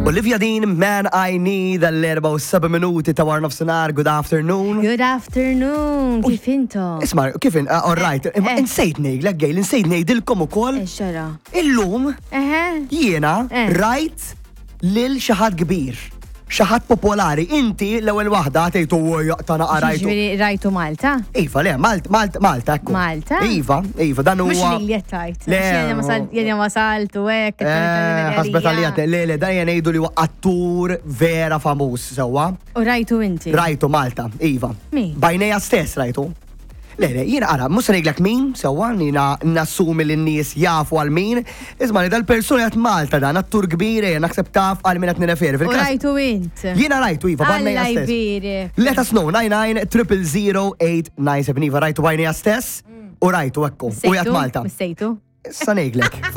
Olivia Dean, Man I Need, għall-4 u 7 minuti ta' war nofsinhar, good afternoon. Good afternoon, kif intom? Isma, kif in, uh, all right, imma Eh. insejt ngħidlek Gail, insejt ngħidilkom ukoll Eh, xara. illum Eħe. jiena Eh. rajt lil xi ħadd kbir, xi ħadd popolari. Inti l-ewwel waħda tgħid u jaqta naqra rajtu. Ġifieri rajtu Malta? Iva, le, Malta, Malta, Malta, ekku. Malta? Iva, iva, dan Mhux huwa. li li tajt. Le, Jena wasaltu hekk. Eh, Ħasbet għalija, le, le, dan jgħidu li huwa attur vera famuż, sewwa. U rajtu inti. Rajtu Malta, Iva. Min? Bajneja stess rajtu. Le, le, jiena ara, mhux se ngħidlek min, sewwa, jiena nassumi li n-nies jafu għal min. Isma' li dal-persuna qed Malta dan, attur kbir, eh, naħseb taf għal min qed nirreferi. U Fil-każ- rajtu int. Jiena rajtu, Iva, bajneja Alla stess. jbierek. Let us know, 99 000 897 Iva, rajtu bajneja stess u rajtu ekku. U jgħat Malta. Missejtu. Issa ngħidlek.